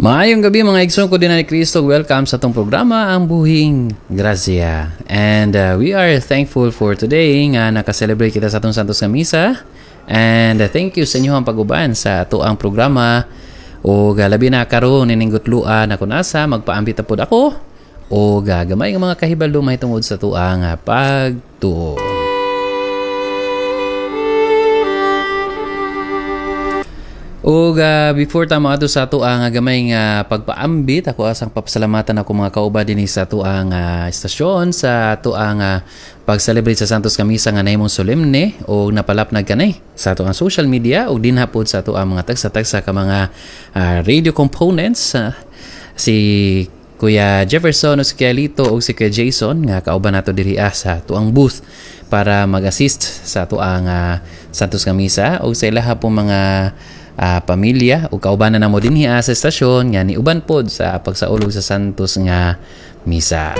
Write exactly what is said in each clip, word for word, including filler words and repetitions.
Maayong gabi mga igsoon ko dinhi ni Kristo. Welcome sa atong programa Ang Buhing Gracia. And uh, we are thankful for today nga naka-celebrate kita sa atong Santos nga Misa. And uh, thank you sa inyong pag-uban sa atoang programa. O uh, labi na karon ining gutloa na kun asa magpaambit na pod ako o uh, gamay nga mga kahibalo mahitungod sa atoang uh, pagtuo. Ug uh, before ta moadto sa atoang uh, gamay nga pagpaambit, ako asang papasalamatan ako mga kauban dinhi sa atoang uh, istasyon sa atoang uh, pag-celebrate sa Santos nga Misa nga nahimong solemne og napalapnag kanay sa atoang social media ug dinha pod sa atoang mga tagsa-tagsa ka mga uh, radio components, uh, si Kuya Jefferson o si Kuya Lito o si Kuya Jason nga kauban nato diri ah, sa atoang booth para mag-assist sa atoang uh, Santos nga Misa ug sa ilaha po mga Uh, pamilya o kaubanan namo dinhi sa estasyon nga niuban pod sa pagsaulog sa Santos nga Misa.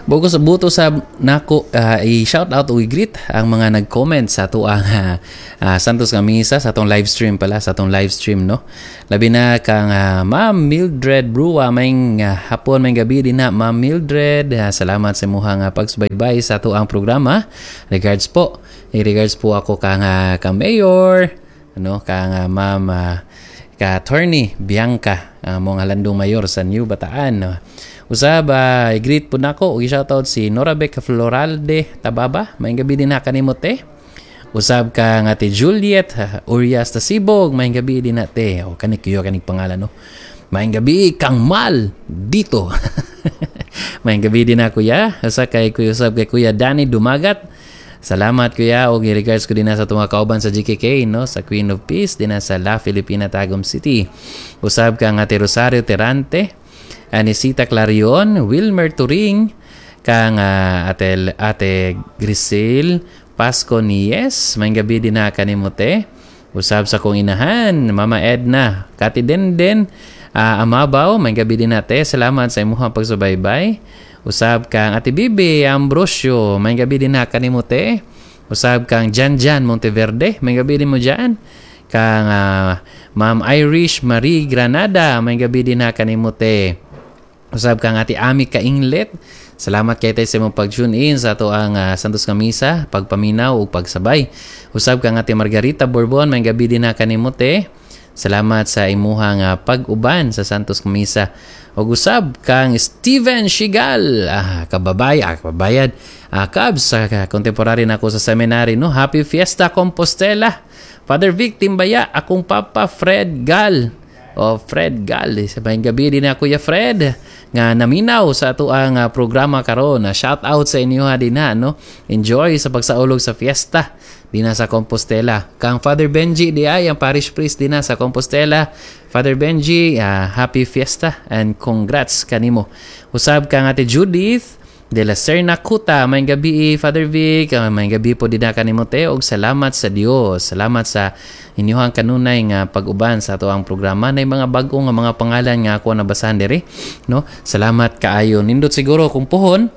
Bugos buto sa nako uh, i-shout out o i-greet ang mga nag-comment sa atoang uh, uh, Santos nga Misa sa atong live stream pala, sa atong live stream, no. Labi na kang uh, Ma'am Mildred Brua, may uh, hapon, may gabi din na Ma'am Mildred. Uh, salamat sa imuhang uh, pagsubaybay sa atoang programa. Regards po. I-regards po ako kang uh, kang Mayor, ano, kang uh, Ma'am uh, ka Attorney Bianca, uh, mong halandong mayor sa New Bataan. No? Usab, uh, i-greet po nako ug i-shoutout si Norabec Floralde Tababa. Maayong gabi din na kanimo te. Usab ka nga te Juliet uh, Urias Tasibog. Maayong gabi din na te. O kanik kuyo kanig pangalan, no. Maayong gabi kang Mal dito. Maayong gabi din na kuya. Usa kay kuya, usab kay Kuya Danny Dumagat. Salamat kuya og i-regards ko din na sa atong mga kauban sa G K K, no, sa Queen of Peace din na sa La Filipina Tagum City. Usab ka nga te Rosario Terante, Anisita Clarion, Wilmer Turing, kang uh, ate, ate Grisel Pasco Nies, may gabi din na kanimo te. Usab sa kong inahan, Mama Edna, Kati Denden, uh, Amabaw, may gabi din na te. Salamat sa imuhang pagsubaybay. Usab kang Ate Bibi Ambrosio, may gabi din na kanimo te. Usab kang Jan Jan Monteverde, may gabi din mo dyan. Kang uh, Ma'am Irish Marie Granada, may gabi din na kanimo te. Usab kang Ate Ami Kainglet. Salamat kay tay sa imong pag-tune in sa ato ang uh, Santos nga Misa, pagpaminaw ug pagsabay. Usab kang Ate Margarita Bourbon, may gabi din na kanimo te. Salamat sa imuhang uh, pag-uban sa Santos nga Misa. Ug usab kang Steven Shigal, ah, kababay, ah, kababayad, ah, Cubs, uh, contemporary nako sa seminary, no. Happy Fiesta Compostela. Father Vic Timbaya, akong papa Fred Gal. O Fred Gal, sa maayong gabi din na Kuya Fred nga naminaw sa atoang uh, programa karon. Shout out sa inyo ha din na, no. Enjoy sa pagsaulog sa fiesta din na sa Compostela. Kang Father Benji di ay ang parish priest din na sa Compostela. Father Benji, uh, happy fiesta and congrats kanimo. Usab kang Ate Judith de la Serna Kuta, maayong gabi Father Vic, uh, maayong gabi po din na kanimo te og salamat sa Dios. Salamat sa inyuhang kanunay nga pag-uban sa atoang programa. Nay mga bag-o nga mga pangalan nga ako nabasahan diri, no. Salamat kaayo. Nindot siguro kung puhon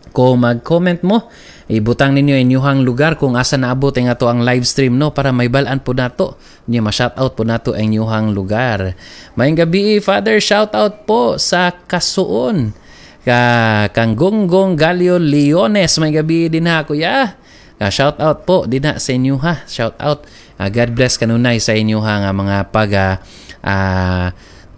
kung mag-comment mo, ibutang ninyo inyuhang lugar kung asa naabot ang ato ang live stream, no, para may balaan po nato niya, ma-shout out po nato ang inyuhang lugar. Maayong gabi Father, shout out po sa Kasuon ka kang Gonggong Galio Leones, may gabi din ha kuya. Uh, shout out po din ha sa inyo ha. Shout out. Uh, God bless kanunay sa inyo ha nga mga pag uh, uh,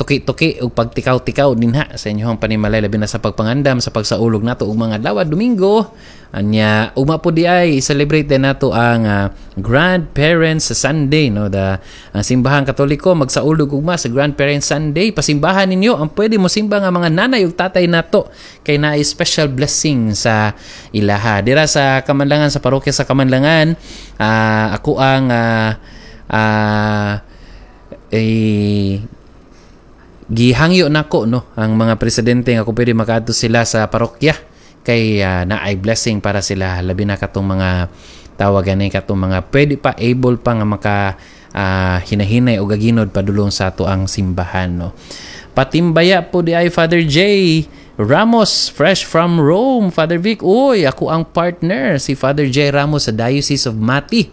tuki-tuki ug pagtikaw-tikaw din ha sa inyong panimalay, labi na sa pagpangandam sa pagsaulog nato ug mga adlaw Domingo. Anya ugma po di ay celebrate din nato ang uh, Grandparents Sunday, no, the ang simbahang Katoliko magsaulog ugma sa Grandparents Sunday. Pasimbahan ninyo ang pwede mo simba nga mga nanay ug tatay nato kay naay special blessing sa ilaha. Dira sa Kamanlangan, sa parokya sa Kamanlangan, uh, ako ang uh, uh, eh, gihangyo nako, no, ang mga presidente nga kung pwede makaadto sila sa parokya kay uh, naay blessing para sila, labi na katong mga tawagan ni katong mga pwede pa, able pa nga maka uh, hinahinay o gaginod padulong sa ato ang simbahan, no. Patimbaya po di ay Father J Ramos, fresh from Rome. Father Vic, uy, ako ang partner si Father J Ramos sa Diocese of Mati.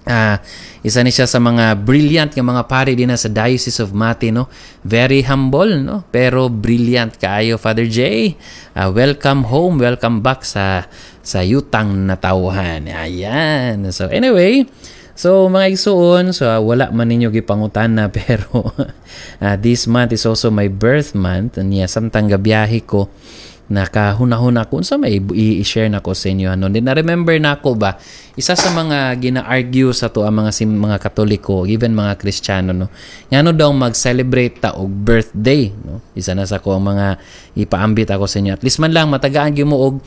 Ah, isa ni siya sa mga brilliant nga mga pari din sa Diocese of Mati, no. Very humble, no, pero brilliant kaayo, Father J. Ah, welcome home, welcome back sa sa yutang natawhan. Ayan. So anyway, so mga igsuon, so uh, wala man ninyo gipangutan na pero uh, this month is also my birth month. Niya samtang gabiyahe ko, nakahuna-huna ko unsa may i-share nako sa inyo, ano. Then na-remember nako ba, isa sa mga gina-argue sa to ang mga sim, mga Katoliko, even mga Kristiyano, no, ngano daw mag-celebrate ta og birthday, no? Isa na sa ko ang mga ipaambit ako sa inyo, at least man lang matagaan gyud mo og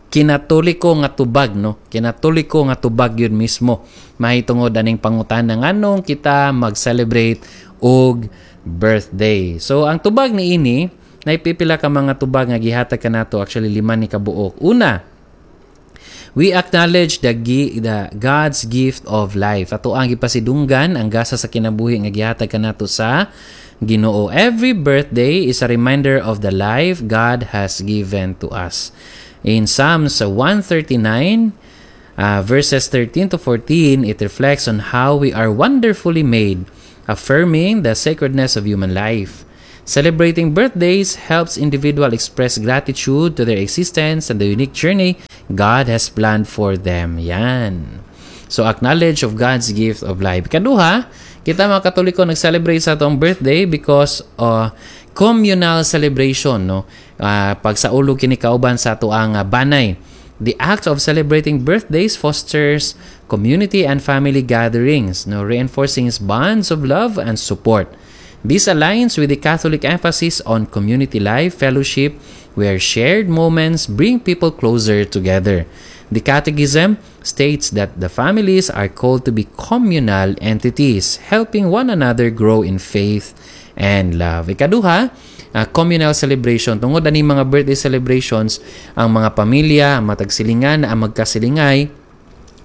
kinatoliko nga tubag, no, kinatoliko nga tubag yun mismo mahitungod aning pangutana, nganong kita mag-celebrate og birthday. So ang tubag niini, naipipila ka mga tubag nga gihatag kanato, actually lima ni kabuok. Una, we acknowledge the, the God's gift of life. Ato ang gipasidunggan ang gasa sa kinabuhi nga gihatag kanato sa Ginoo. Every birthday is a reminder of the life God has given to us. In Psalms one thirty-nine, uh, verses thirteen to fourteen, it reflects on how we are wonderfully made, affirming the sacredness of human life. Celebrating birthdays helps individual express gratitude to their existence and the unique journey God has planned for them. Yan. So, acknowledge of God's gift of life. Kaduha, kita mga Katoliko nag-celebrate sa atong birthday because uh, communal celebration, no? Uh, pagsaulog kini kauban sa atoang uh, banay. The act of celebrating birthdays fosters community and family gatherings, no, reinforcing bonds of love and support. This aligns with the Catholic emphasis on community life, fellowship, where shared moments bring people closer together. The Catechism states that the families are called to be communal entities, helping one another grow in faith and love. Ikaduha, uh, communal celebration. Tungod ani mga birthday celebrations, ang mga pamilya, ang matagsilingan, ang magkasilingay,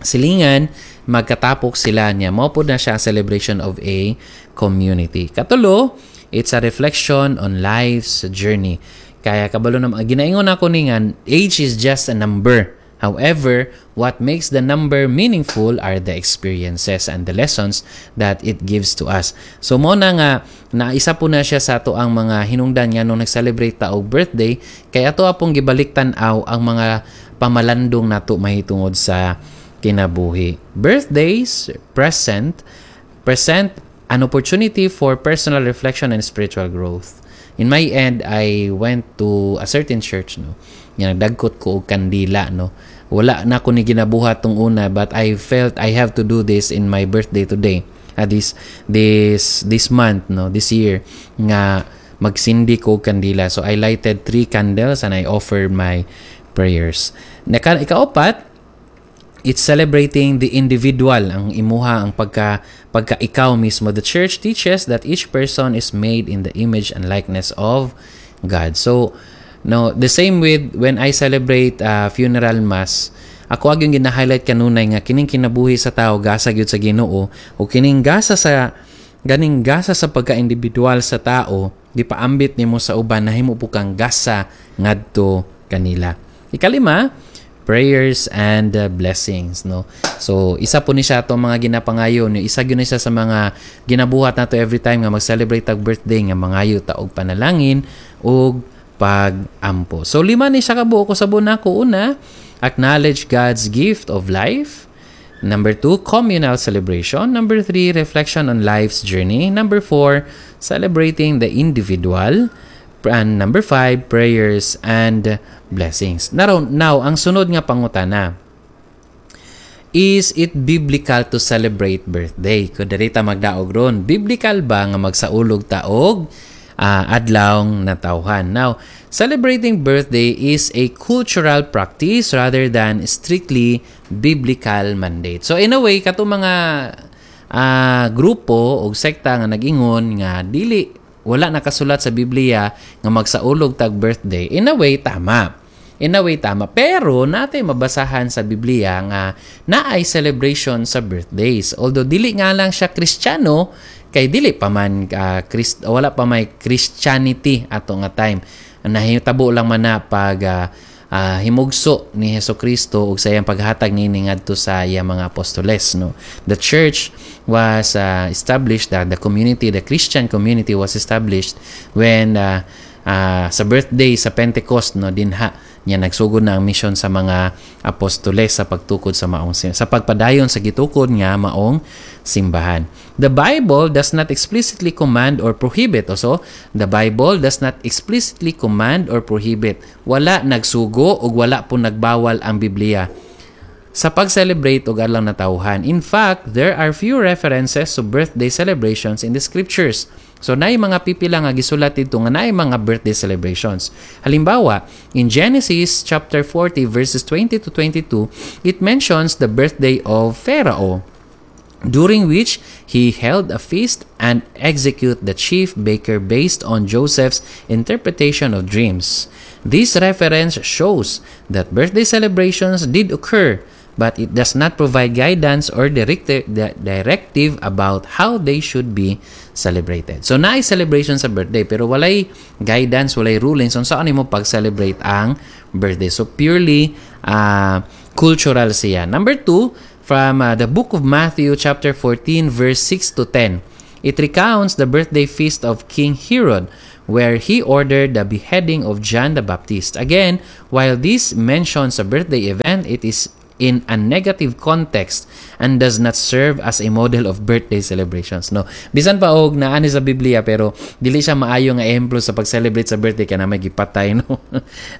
silingan, magkatapok sila niya. Mao pod na siya ang celebration of a community. Katulo, it's a reflection on life's journey. Kaya kabalo na ginaingon ako ni nga age is just a number. However, what makes the number meaningful are the experiences and the lessons that it gives to us. So mo na nga na isa po na siya sa ato ang mga hinungdan nga nung nag-celebrate ta og birthday, kay ato apong gibalik tan-aw ang mga pamalandong nato mahitungod sa kinabuhi. Birthdays present present an opportunity for personal reflection and spiritual growth. In my end, I went to a certain church, no. Nga nagdagkot ko og kandila, no. Wala na ko ni ginabuhat tong una, but I felt I have to do this in my birthday today. Uh, this this this month, no, this year nga magsindi ko og kandila. So I lighted three candles and I offered my prayers. Naka, ikaapat, it's celebrating the individual, ang imuha, ang pagka pagka ikaw mismo. The church teaches that each person is made in the image and likeness of God. So no, the same with when I celebrate uh, funeral mass, ako ang gina-highlight kanunay nga kining kinabuhi sa tao gasa gyud sa Ginoo o kining gasa sa ganing gasa sa pagka-individual sa tao, gipaambit nimo sa uban, nahimo po kang gasa ngadto kanila. Ikalima, prayers and uh, blessings, no. So isa po ni siya atong mga ginapangayo ni, isa gyud ni siya sa mga ginabuhat nato every time nga mag-celebrate tag birthday, nga mangayo ta og panalangin ug pag-ampo. So lima ni siya kabuok ko sa nako. Una, acknowledge God's gift of life. Number two, communal celebration. Number three, reflection on life's journey. Number four, celebrating the individual. And number five, prayers and blessings. Now, now ang sunod nga pangutana, is it biblical to celebrate birthday? Kung diri ta magdaog ron, biblical ba nga magsaulog ta og uh, adlawng natawhan? Now, celebrating birthday is a cultural practice rather than strictly biblical mandate. So in a way, kato mga uh, grupo o sekta nga nag-ingon nga dili, wala nakasulat sa Biblia nga magsaulog tag birthday. In a way, tama. In a way, tama. Pero natay mabasahan sa Biblia nga naay celebration sa birthdays. Although dili nga lang siya Kristiyano, kay dili pa man uh, Christ, wala pa may Christianity ato nga time. Nahitabo lang man na pag uh, uh, himugso ni Hesus Kristo ug sa iyang paghatag niini ngadto sa iyang mga apostoles no the church was uh, established the, the community the Christian community was established when uh, uh, sa birthday sa Pentecost no dinha niya nagsugod na ang mission sa mga apostoles sa pagtukod sa maong sa pagpadayon sa gitukod nga maong simbahan. The Bible does not explicitly command or prohibit. Also, the Bible does not explicitly command or prohibit. Wala nagsugo ug wala po nagbawal ang Biblia sa pag-celebrate og adlaw natawhan. In fact, there are few references to birthday celebrations in the scriptures. So naay mga pipila nga gisulat dito nga naay mga birthday celebrations. Halimbawa, in Genesis chapter forty verses twenty to twenty-two, it mentions the birthday of Pharaoh during which he held a feast and execute the chief baker based on Joseph's interpretation of dreams. This reference shows that birthday celebrations did occur, but it does not provide guidance or directive, directive about how they should be celebrated. So, naay celebration sa birthday, pero walay guidance, walay rulings on saan mo pag-celebrate ang birthday. So, purely uh, cultural siya. Number two, from uh, the book of Matthew chapter fourteen verse six to ten. It recounts the birthday feast of King Herod where he ordered the beheading of John the Baptist. Again, while this mentions a birthday event, it is in a negative context and does not serve as a model of birthday celebrations no bisan pa og naa ni sa Biblia pero dili siya maayo nga ehemplo sa pag-celebrate sa birthday kay na may gipatay no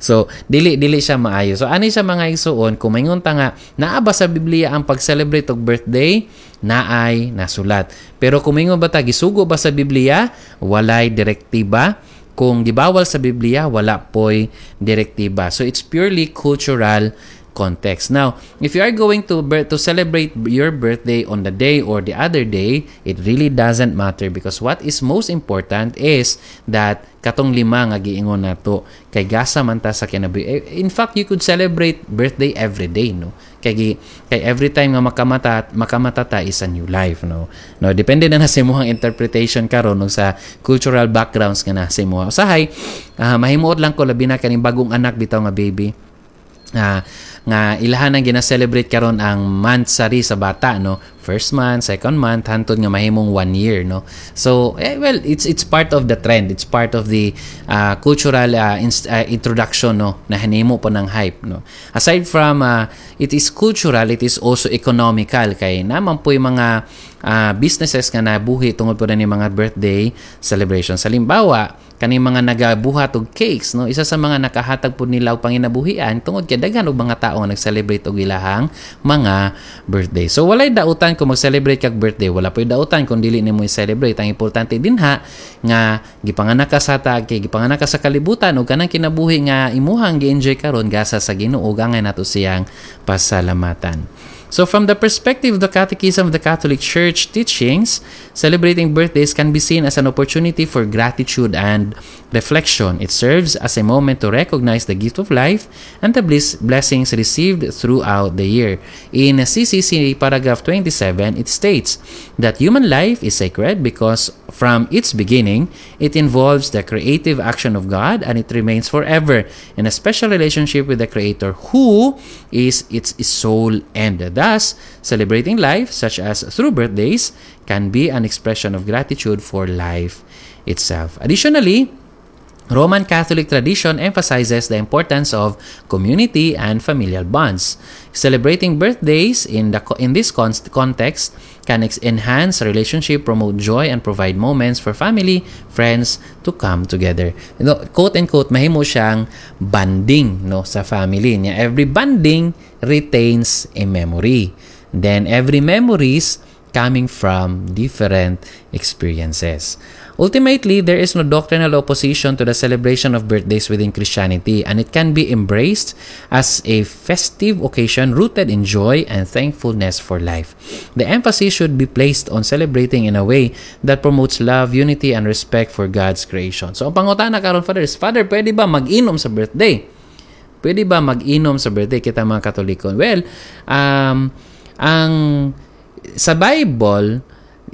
so dili dili siya maayo so ani siya mga igsuon kung maingon ta nga naa ba sa Biblia ang pag-celebrate og birthday naay nasulat pero kung maingon ba ta gisugo ba sa Biblia walay direktiba kung gibawal sa Biblia wala poy direktiba so it's purely cultural context. Now, if you are going to to celebrate your birthday on the day or the other day, it really doesn't matter because what is most important is that katong lima nga giingon nato kay gasa man ta sa kinabuhi. Eh, in fact, you could celebrate birthday every day, no? Kay kay every time nga makamata makamata ta is a new life, no? No, depende na na sa imong interpretation karon no, sa cultural backgrounds nga nasa imo. Usahay, uh, mahimuot lang ko labi na kaning bagong anak bitaw nga baby. Uh, nga ilahan ang gina-celebrate karon ang monthsary sa bata no first month second month hantod nga mahimong one year no so eh, well it's it's part of the trend it's part of the uh, cultural uh, inst- uh, introduction no na hinimo po ng hype no aside from uh, it is cultural it is also economical kay naman po yung mga uh, businesses nga nabuhi tungod po na ni mga birthday celebration halimbawa kaning mga nagabuhat og cakes no isa sa mga nakahatag pud nila og panginabuhian tungod kay daghan og mga tao nga nag-celebrate og ilahang mga birthday so walay dautan kung mag-celebrate kag birthday wala poy dautan kung dili nimo i-celebrate ang importante dinha nga gipanganak ka sa tag kay gipanganak ka sa kalibutan ug kanang kinabuhi nga imuhang gi-enjoy karon gasa sa Ginoo angay nato siyang pasalamatan So from the perspective of the Catechism of the Catholic Church teachings, celebrating birthdays can be seen as an opportunity for gratitude and reflection. It serves as a moment to recognize the gift of life and the bliss blessings received throughout the year. In CCC paragraph twenty-seven, it states that human life is sacred because from its beginning, it involves the creative action of God and it remains forever in a special relationship with the Creator who is its sole end. Thus, celebrating life, such as through birthdays, can be an expression of gratitude for life itself. Additionally, Roman Catholic tradition emphasizes the importance of community and familial bonds. Celebrating birthdays in the in this context can enhance relationship, promote joy, and provide moments for family, friends to come together. You know, quote and quote, mahimo siyang bonding no sa family niya. Every bonding retains a memory. Then every memories coming from different experiences. Ultimately, there is no doctrinal opposition to the celebration of birthdays within Christianity, and it can be embraced as a festive occasion rooted in joy and thankfulness for life. The emphasis should be placed on celebrating in a way that promotes love, unity, and respect for God's creation. So, ang pangutana karon Father, is, Father, pwede ba mag-inom sa birthday? Pwede ba mag-inom sa birthday kita mga Katoliko? Well, um, ang sa Bible,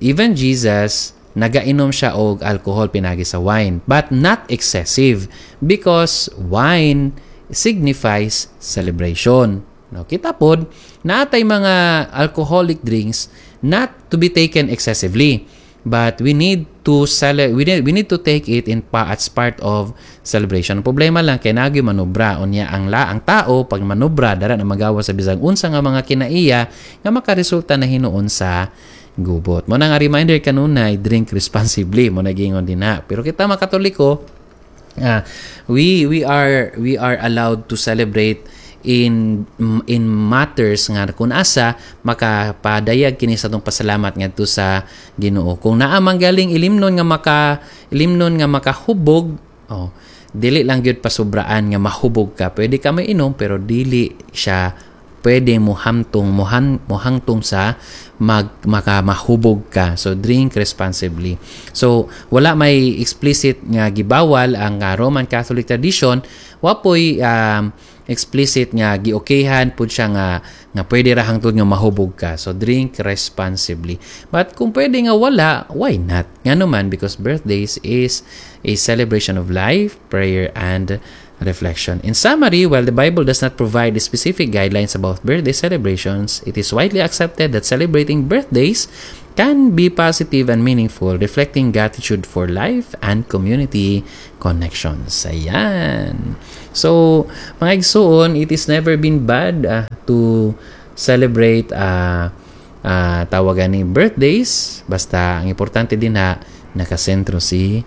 even Jesus, nagainom siya og alcohol pinagi sa wine but not excessive because wine signifies celebration. No, kita pod naa tay mga alcoholic drinks not to be taken excessively but we need to cele- we need, we need to take it in pa as part of celebration. Ang problema lang kay nagi manobra unya ang la ang tao pag manobra dara na magawa sa bisag unsa nga mga kinaiya nga makaresulta na hinuon sa gubot. Mao na nga reminder kanunay drink responsibly mao na giingon dinha. Pero kita mga Katoliko uh, we we are we are allowed to celebrate in in matters nga kung asa makapadayag kini sa atong pasalamat ngadto sa Ginoo. Kung naa man galing ilimnon nga maka ilimnon nga makahubog, oh, dili lang gyud pasubraan nga mahubog ka. Pwede ka mainom pero dili siya pwede mo hamtong mohan mohangtong sa mag maka mahubog ka. So drink responsibly. So wala may explicit nga gibawal ang uh, Roman Catholic tradition, wa poy um, explicit nga giokayhan pud siya nga nga pwede ra hangtod nga mahubog ka. So drink responsibly. But kung pwede nga wala, why not? Ngano man because birthdays is a celebration of life, prayer and reflection. In summary, while the Bible does not provide specific guidelines about birthday celebrations, it is widely accepted that celebrating birthdays can be positive and meaningful, reflecting gratitude for life and community connections. Ayan. So, mga igsuon, it is never been bad uh, to celebrate uh, uh, tawagan ni birthdays. Basta, ang importante dinha, nakasentro si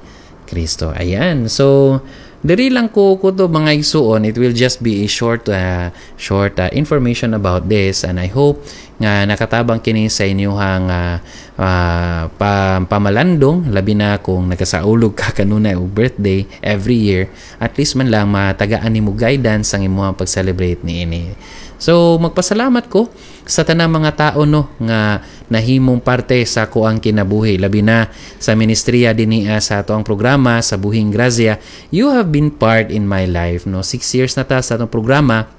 Kristo. Ayan. So, diri lang ko ko to mga igsuon it will just be a short uh, short uh, information about this and I hope nga nakatabang kini sa inyong uh, uh, pa, pamalandong labi na kung nakasaulog ka kanunay og birthday every year at least man lang matagaan nimo guidance ang imong pag-celebrate niini so magpasalamat ko sa tanang mga tao no nga nahimong parte sa akoang kinabuhi labi na sa ministriya dinhi sa ato ang programa sa Buhing Grazia you have been part in my life no six years na ta sa atong programa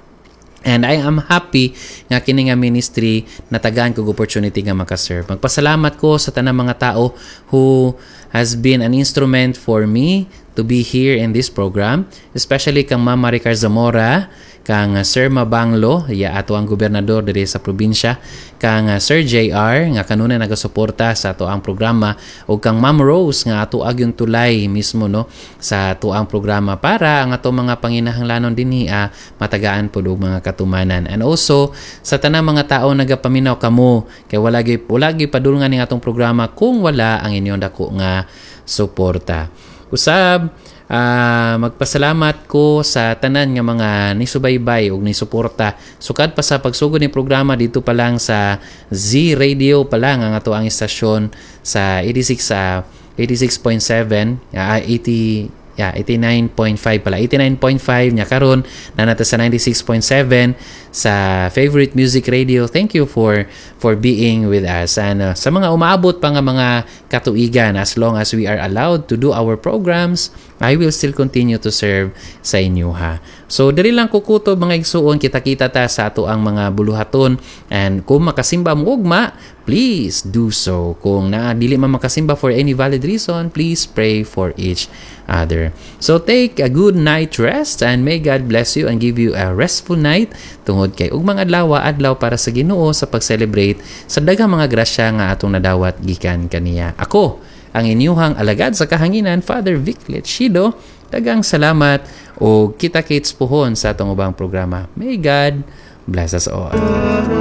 And I am happy nga kini nga ministry natagaan kog opportunity nga makaserve. Magpasalamat ko sa tanang mga tao who has been an instrument for me to be here in this program, especially kang Ma'am Maricar Zamora, kang Sir Mabanglo, ya ato ang gobernador diri sa probinsya, kang Sir JR nga kanunay nagasuporta sa ato ang programa ug kang Ma'am Rose nga ato agyong tulay mismo no sa ato ang programa para ang ato mga panginahanglanon dinhi ah, matagaan pud og mga katumanan. And also sa tanang mga tao nagapaminaw kamo kay wala gyud wala gyud padulngan ning atong programa kung wala ang inyong dako nga suporta. Usab uh, magpasalamat ko sa tanan nga mga nisubaybay ug nisuporta sukad pa sa pagsugod ni programa dito pa lang sa Z Radio pa lang ang ato ang istasyon sa eighty-six sa uh, eighty-six point seven uh, eighty yeah, eighty-nine point five pala. eighty-nine point five nya karon na nata sa ninety-six point seven sa Favorite Music Radio. Thank you for for being with us. And uh, sa mga umaabot pa nga mga katuigan, as long as we are allowed to do our programs, I will still continue to serve sa inyo ha. So diri lang ko kutob mga igsuon, kita-kita ta sa ato ang mga buluhaton and kung makasimba mo ugma, please do so. Kung na dili man makasimba for any valid reason, please pray for each other. So take a good night rest and may God bless you and give you a restful night tungod kay ugmang adlaw adlaw para sa Ginoo sa pag-celebrate sa daghang mga grasya nga atong nadawat gikan kaniya. Ako ang inyuhang alagad sa kahanginan, Father Vic Lechido. Daghang salamat o kita-kits puhon sa atong ubang programa. May God bless us all.